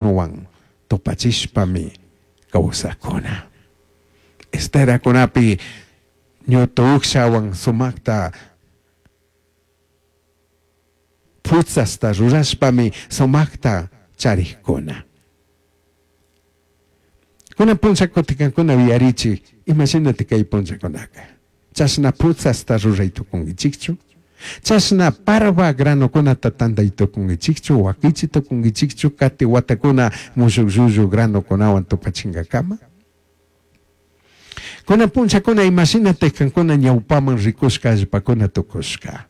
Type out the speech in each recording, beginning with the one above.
Huan tupachishpami causacuna. Esteracunapi ñutu ujshahuan sumajta putzasta rurashpami sumajta charijcuna. Cunan punlla cutin cancuna yuyarichij, ima shinati cai punllacunaca? Chashna putzasta rurai tucunguichijchu? Chashna parva granocunata tandai tucunguichijchu? Huaquichi tucunguichijchu cati huatacuna mushuj llullu granocunahuan tupachingacama? Cunan punllacuna ima shinataj cancuna ñaupaman ricushca allpacuna tucushca?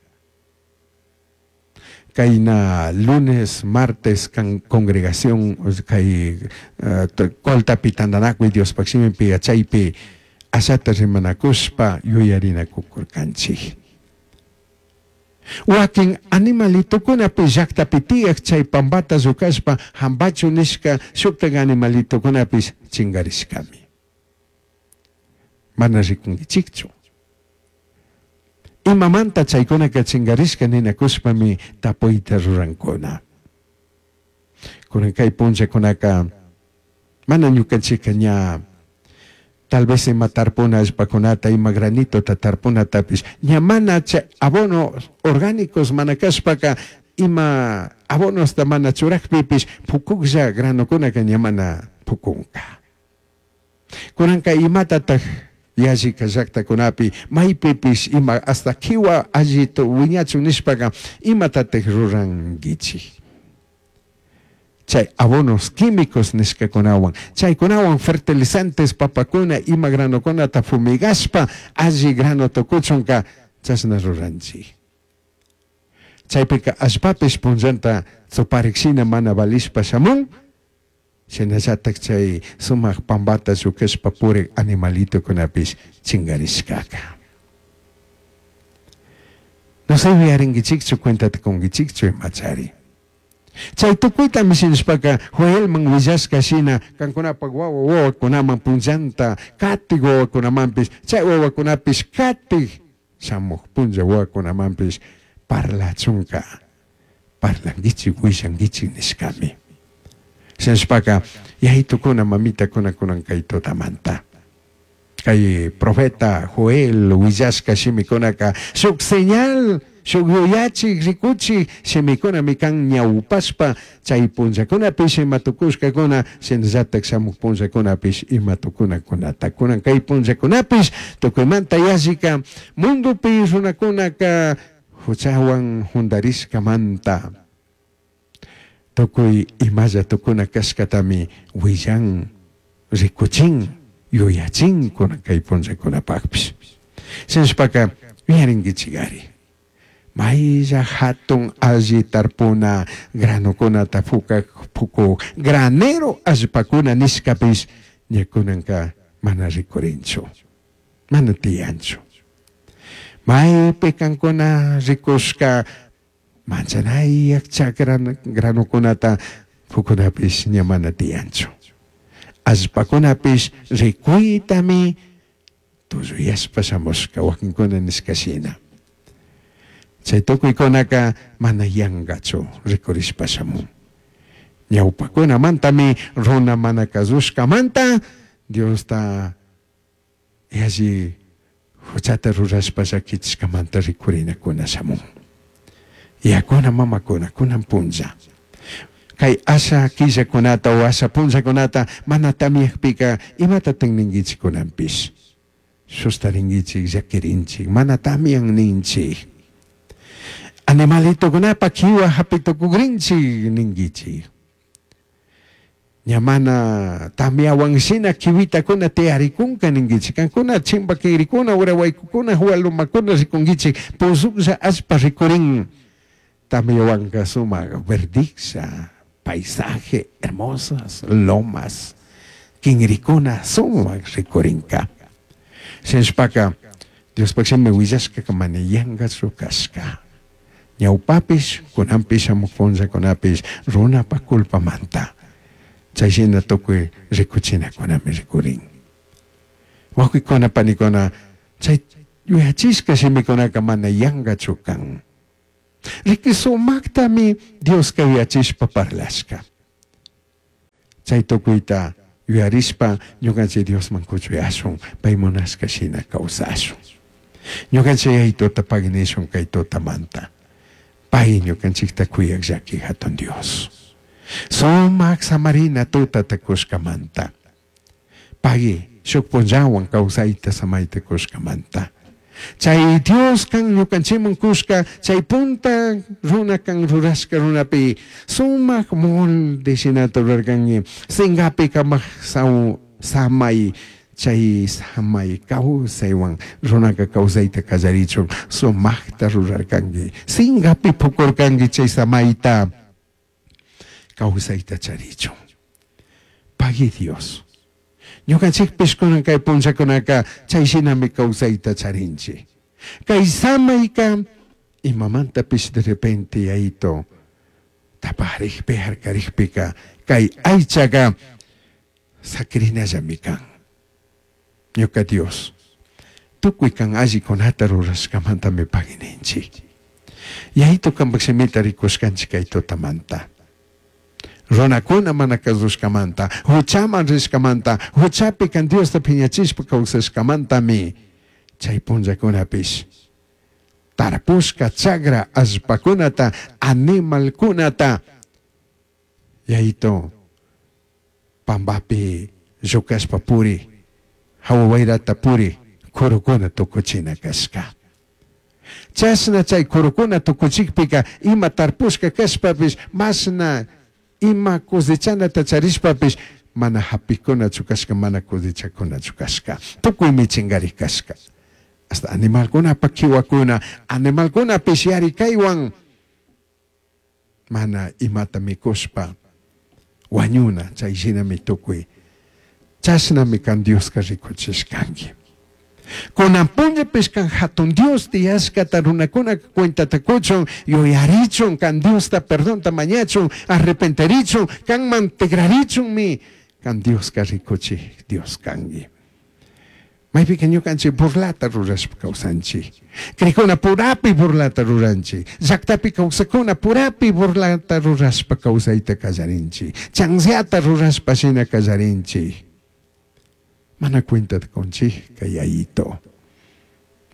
Caina lunes, martes can congregación cai coltapi tandanacui Diospaj shimipi yachaipi ashata rimanacushpa yuyarinacucurcanchij. Huaquin animalitocunapi llajtapi tiyaj chai pambata llucashpa jambachu nishca shujtaj animalitocunapish chingarishcami. Mana ricunguichijchu. Imamanta chaicunaca chingarishca ninacushpami tapuita rurancuna. Cunan cai punllacunaca mana ñucanchijca ña tal vez ima tarpuna allpacunata, ima granitota tarpunatapish ña mana chay abonos orgánicos mana cashpaca ima abonosta mana churajpipish pucujlla granocunaca ña mana pucunca. Cunanca imatataj yallica llajtacunapi maipipish ima hasta quiwa alli huiñachun nishpaca imatataj ruranguichij? Chay abonos químicos nishcacunahuan, chaicunahuan fertilizantes papacuna ima granocunata fumigashpa alli grano tucuchunca chashna ruranchij. Chaipica allpapish punllanta tsuparik shina mana valishpa shamun, shinallataj chay sumaj pambata lluquishpa purik animalitocunapish chingarishcaca. No sé yuyaringuichijchu cuentata cunguichijchu imachari. Chay tucuitami shinashpaca Joelman huillashca shina cancunapaj huahua huahuacunaman punllanta catij huahuacunamanpish chay huahuacunapish catij shamuj punlla huahuacunamanpish parlachunca parlanguichij huillanguichij nishcami. Shinashpaca yayitucuna mamitacuna cunan cai tutamanta cai profeta Joel huillashca shimicunaca shuj señal, shuj yuyachij ricuchij shimicunami can ñaupashpa chai punllacunapish ima tucushcacuna shinallataj shamuj punllacunapish ima tucunacunata. Cunan cai punllacunapish tucuimanta yallica mundopi runacunaca juchahuan jundarishcamanta tucui imalla tucuna cashcatami huillan, ricuchin, yuyachin cunan cai punllacunapajpish. Shinashpaca yuyaringuichigari. Mailla jatun alli tarpuna granocunata pucaj pucuj granero allpacuna nishcapish ña cunanca mana ricurinchu, mana tiyanchu. Maipi cancuna ricushca manchanayaj chacra granocunata pucunapish ña mana tiyanchu. Allpacunapish ricuitami tulluyashpa shamushca huaquincuna nishca shina. Chay tucuicunaca mana yangachu ricurishpa shamun. Ñaupacunamantami runa mana cazushcamanta Diosta yalli juchata rurashpa llaquichishcamanta ricurinacuna shamun. Yacuna mamacuna cunan punlla. Cai asha quillacunata o asha punllacunata mana tamyajpica imatataj ninguichij cunanpish? Sustaringuichij, llaquirinchij, mana tamyan ninchij. Animalitocunapa quiwa japi tucugrinchij ninguichij. Ña mana tamyahuan shina quihuitacuna tiyaricunca ninguichij. Cancuna chimba quinricuna, ura huaicucuna, hualumacuna ricunguichij, puzujlla allpa ricurin. Tamyahuanca sumaj verdijlla, paisaje hermosas, lomas, quinricuna sumaj ricurinca. Shinashpaca Diospaj shimi huillashcaca mana yangachu cashca. Ñaupapish, cunanpish shamuj punllacunapish runapaj culpamanta chay shina tucui ricuchinacunami ricurin. Huauquicuna, panicuna, chay yuyachishca shimicunaca mana yangachu can. Riqui sumajtami Diosca yuyachishpa parlashca. Chay tukuyta yuyarishpa ñukanchik Diosman kuchuyashun, pay munashka shina kawsashun. Ñukanchik Yayituta pagui nishun kay tutamanta. Pay ñukanchikta kuyaj llaki jatun Dios. Sumak samarina tutata kushkamanta. Pagui shuk punllawan kawsayta samayta kushkamanta. Chay Dios kan ñukanchikman kushka chay punta runa kan rurashka runapi sumak molde shinata rurarkanki. Singapi kamak samay chay samay kawsaywan runaka kawsayta kallarichun sumakta rurarkanki. Singapi pukurkanki chay samayta kawsayta charichun. Pagui Dios. Ñukanchikpish kunan kay punllakunaka chay shinami kawsayta charinchik. Kay samayka imamantapish de repente yayito taparikpi harkarikpika kay aychaka sakirinallami kan. Ñuka Dios, tukuy kan allikunata rurashkamantami pagui ninchik. Yayito kanpak shimita rikushkanchik kay tutamanta. Runakuna mana kasushkamanta, huchaman rishkamanta, huchapi kan Diosta phiñachishpa kawsashkamantami chay punllakunapish tarpushka chagra allpakunata, animalkunata yayito pambapi llukashpa puri, hawa wayrata puri, kurukuna tukuchina kashka. Chashna chay kurukuna tukuchikpika ima tarpushka kashpapish mashna ima cosechanata charishpapish mana hapikunachu kashka, mana cosechakunachu kashka. Tukuymi chingarik kashka. Hasta animalkunapa kiwakuna, animalkunapish yarikaywan mana imata mikushpa wañuna, chay shinami tukuy. Chashnami kan Dioska rikuchishkanki. Kunan punllapish kan hatun Dios tiyashkata runakuna cuentata kuchun, yuyarichun, kan Diosta perdonta mañachun, arrepentirichun, kanman tigrarichunmi kan Dioska rikuchik Dios kanki. Maypika ñukanchik burlata rurashpa kawsanchik. Crikuna purapi burlata ruranchik. Llaktapi kawsakuna purapi burlata rurashpa kawsayta kallarinchik. Chanziata rurashpa shina kallarinchik. Mana cuentata kunchik kay yayito.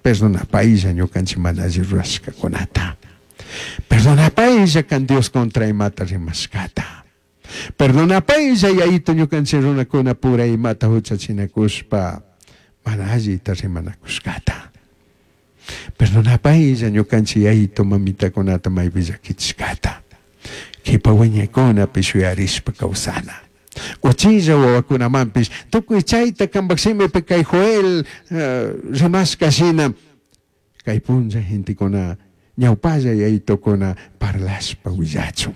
Perdonapaylla ñukanchik mana alli rurashkakunata. Perdonapaylla kan Dios contra imata rimashkata. Perdonapaylla yayito ñukanchik runakuna pura imata huchachinakushpa mana allita rimanakushkata. Perdonapaylla ñukanchik yayito mamitakunata maypi llakichishkata. Kipa wiñaykunapish yuyarishpa kawsana. Uchilla wawakunamanpish tukuy chayta kanpak shimipi kay Joel rimashka shina kay punlla gentekuna ñawpalla yayitokuna parlashpa willachun.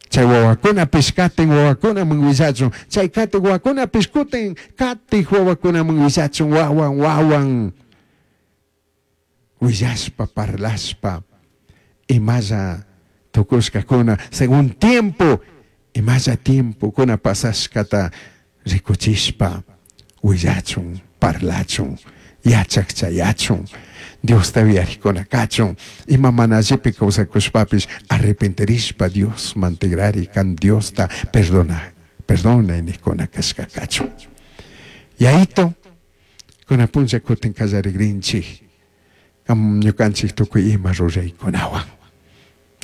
Chay wawakunapish katin wawakunaman willachun. Chay katin wawakunapish kutin katik wawakunaman willachun wawan wawan willashpa parlashpa imalla tukushkakuna según tiempo imalla tiempokuna pasashkata rikuchishpa willachun parlachun yachakchayachun Diosta uyarikuna kachun ima mana allipi kawsakushpapish arrepentirishpa Diosman tigrari kan Diosta perdona perdona nikkuna kashka kachun. Yayito kuna punlla kutin kallarigrinchik kam ñukanchik tukuy ima ruraykunawan.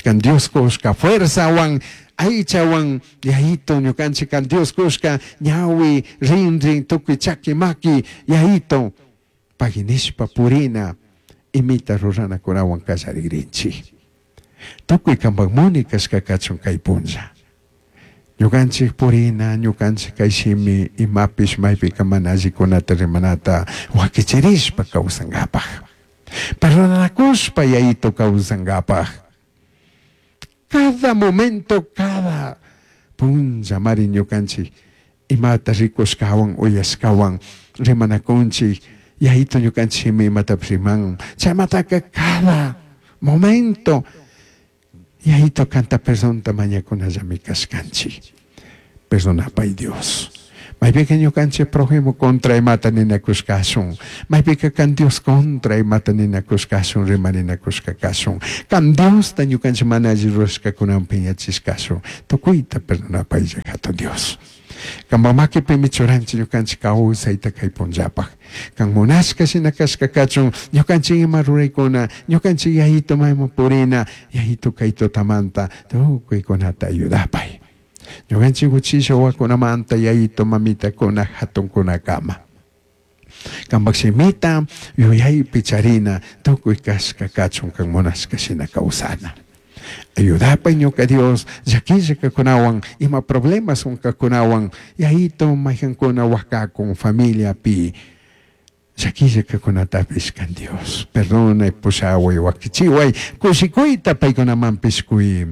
Kan Dios kushka fuerzawan aychawan yayito ñukanchik kan Dios kushka ñawi rinrin tukuy chaki maki yayito paginishpa purina imita ruranakunawan kallarigrinchik. Tukuy kanpak muni kashka kachun kay punlla. Ñukanchik purina, ñukanchik kay shimi imapish maypika mana allikunata rimanata wakichirishpa kawsankapaj. Perdonanakushpa yayito kawsankapaj. Cada momento, cada punlla mari ñukanchik imata rikushkawan uyashkawan rimanakunchik yayito ñukanchik shimi imatapish riman. Chaymataka cada momento yayito kanta perdonta mañakunallami kashkanchik. Perdonapay Dios. Maypiqa ñukanchik prójimo contra imata ninakushkashun. Maypiqa kan Dios contra imata ninakushkashun, rimarinakushka kashun. Kan Diosta ñukanchik mana alli rurashkakunawan piñachishkashun. Tukuyta perdonapaylla hatun Dios. Kanpak makipimi churanchik ñukanchik kawsayta kay punllapaj. Kan munashka shina kashka kachun ñukanchik ima ruraykuna, ñukanchik yayitu mayman purina, yayitu kay tutamanta tukuykunata ayudapay. Ñukanchik uchilla wawakunamanta yayitu mamitakuna hatunkunakama. Kanpak shimita yuyaypi charina tukuy kashka kachun kan munashka shina kawsana. Ayudapay ñuka Dios llaquillakakunawan ima problemas unkakunawan yayitu mayjankuna wakakun familiapi llaquillakakunatapish kan Dios perdonay pushaway wakichiway kushikuyta paykunamanpish kuy.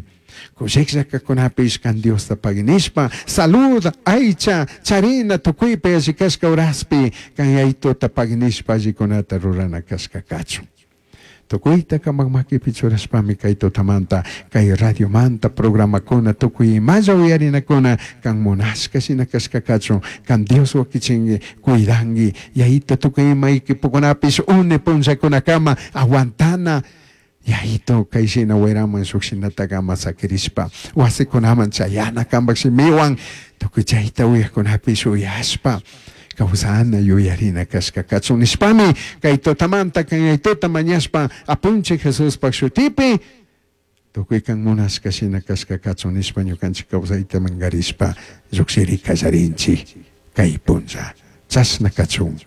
Kushikllakakunapish kan Diosta pagui nishpa salud aycha charina tukuypi alli kashka horaspi kan yayituta pagui nishpa allikunata rurana kashka kachun. Tukuyta kanpak makipi churashpami kay tutamanta kay radiomanta programakuna tukuy imalla uyarinakuna kan munashka shina kashka kachun kan Dios wakichinki cuidanki yayito tukuy ima equipokunapish une punllakunakama aguantana yayito kay shina wiraman shuk shinataka ama sakirishpa wasikunaman chayana kanpak shimiwan tukuy chayta uyakkunapish uyashpa kawsana yuyarina kashka kachun nishpami kay tutamanta kan yayituta mañashpa apunchik Jesuspak shutipi tukuy kan munashka shina kashka kachun nishpa ñukanchik kawsayta mangarishpa llukshiri kallarinchik kay punlla chashna kachun.